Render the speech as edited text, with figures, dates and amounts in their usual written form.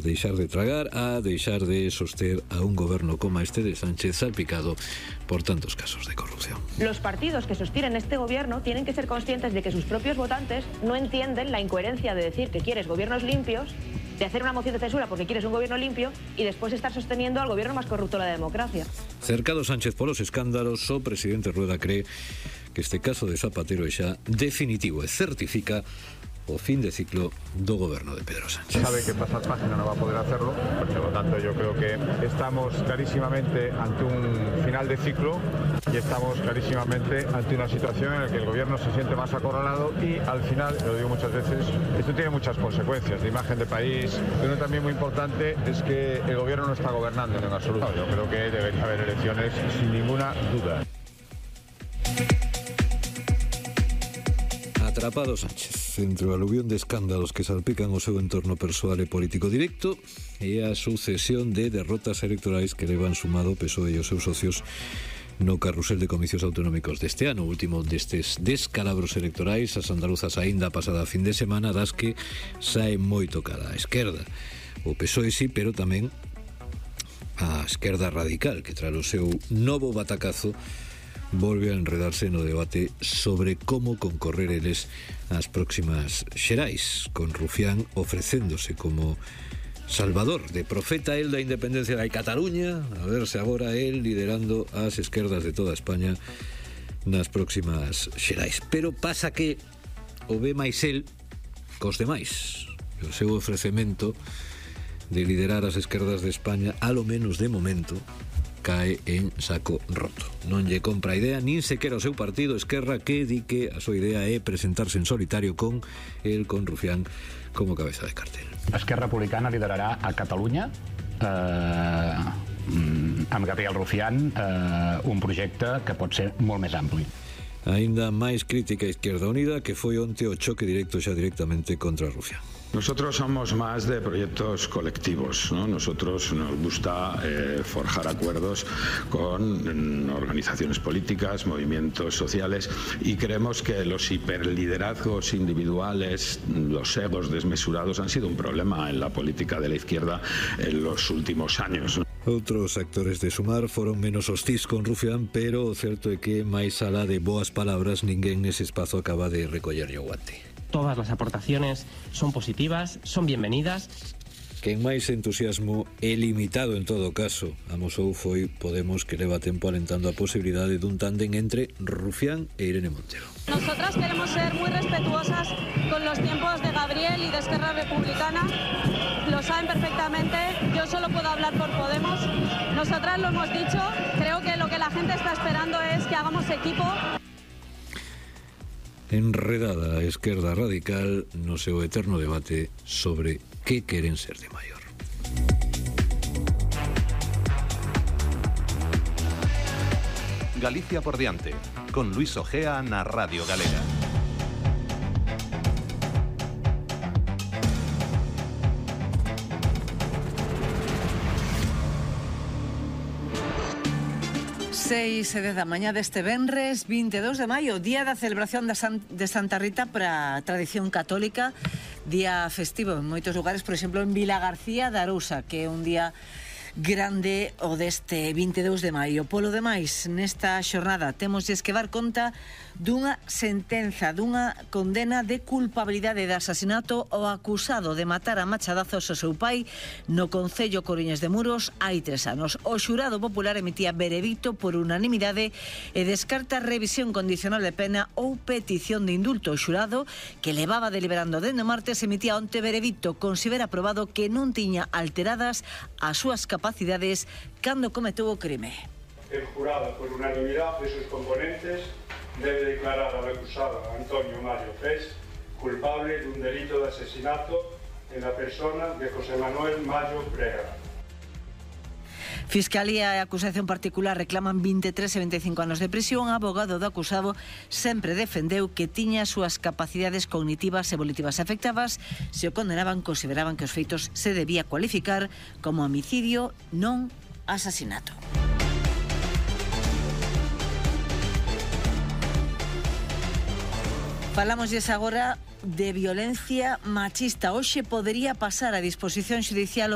deixar de tragar, a deixar de soster a un goberno como este de Sánchez salpicado por tantos casos de corrupción. Los partidos que sostienen este gobierno tienen que ser conscientes de que sus propios votantes no entienden la incoherencia de decir que quieres gobiernos limpios, de hacer una moción de censura porque quieres un gobierno limpio y después estar sosteniendo al gobierno más corrupto de la democracia. Cercado Sánchez polos escándalos, o presidente Rueda cree que este caso de Zapatero é xa definitivo e certifica o fin de ciclo do goberno de Pedro Sánchez. Sabe que pasar página no va a poder hacerlo, por lo tanto yo creo que estamos clarísimamente ante un final de ciclo y estamos clarísimamente ante una situación en la que el gobierno se siente más acorralado y al final, lo digo muchas veces, esto tiene muchas consecuencias de imagen de país. Uno también muy importante es que el gobierno no está gobernando en absoluto. Yo creo que debería haber elecciones sin ninguna duda. Atrapado Sánchez entre o aluvión de escándalos que salpican o seu entorno persoal e político directo e a sucesión de derrotas electorais que levan sumado o PSOE e os seus socios no carrusel de comicios autonómicos deste ano. O último destes descalabros electorais, as andaluzas aínda pasada fin de semana, das que sae moi tocada a esquerda. O PSOE sí, pero tamén a esquerda radical, que tras o seu novo batacazo volve a enredarse no debate sobre como concorrer eles ás próximas xerais, con Rufián ofrecéndose como salvador, de profeta el da independencia de Cataluña, a verse agora el liderando as esquerdas de toda España nas próximas xerais. Pero pasa que o ve máis el cos demais. O seu ofrecemento de liderar as esquerdas de España, a lo menos de momento, cae en saco roto. Non lle compra a idea nin sequera o seu partido Esquerra, que di que a súa idea é presentarse en solitario con Rufián como cabeza de cartel. Esquerra Republicana liderarà a Catalunya amb Gabriel Rufián un projecte que pot ser molt més ampli. Aínda máis crítica a Izquierda Unida, que foi onte o choque directo xa directamente contra Rufián. Nosotros somos más de proyectos colectivos, ¿no? Nosotros nos gusta forjar acuerdos con organizaciones políticas, movimientos sociales, y creemos que los hiperliderazgos individuales, los egos desmesurados han sido un problema en la política de la izquierda en los últimos años. Outros actores de Sumar foron menos hostís con Rufián, pero o certo é que máis alá de boas palabras ninguén nese espazo acaba de recollerlle o guante. Todas las aportaciones son positivas, son bienvenidas. Quen máis entusiasmo e limitado en todo caso amosou foi Podemos, que leva tempo alentando a posibilidade dun tándem entre Rufián e Irene Montero. Nosotras queremos ser muy respetuosas con los tiempos de Gabriel y de Esquerra Republicana. Lo saben perfectamente, yo solo puedo hablar por Podemos. Nosotras lo hemos dicho, creo que lo que la gente está esperando es que hagamos equipo. Enredada a esquerda radical no seu eterno debate sobre que queren ser de maior. Galicia por diante, con Luis Ojea na Radio Galega. Seis e 10 da mañá deste venres 22 de maio, día da celebración de Santa Rita para a tradición católica, día festivo en moitos lugares, por exemplo en Vilagarcía de Arousa, que é un día grande o deste 22 de maio. Polo demais, nesta xornada temos que dar conta dunha sentenza, dunha condena de culpabilidade de asasinato ao acusado de matar a machadazos ao seu pai no concello Coriñas de Muros hai 3 anos. O xurado popular emitía veredicto por unanimidade e descarta revisión condicional de pena ou petición de indulto. O xurado, que levaba deliberando dende o martes, emitía onte veredicto, considera aprobado que non tiña alteradas as súas capacidades cando cometeu o crime. El jurado, por unanimidad de sus componentes, debe declarar al acusado Antonio Mario Pes culpable de un delito de asesinato en la persona de José Manuel Mayo Brega. Fiscalía e acusación particular reclaman 23 e 25 anos de prisión. O abogado do acusado sempre defendeu que tiña as súas capacidades cognitivas e volitivas afectadas. Se o condenaban, consideraban que os feitos se debía cualificar como homicidio, non asasinato. Falámoslles agora de violencia machista. Hoxe podería pasar a disposición xudicial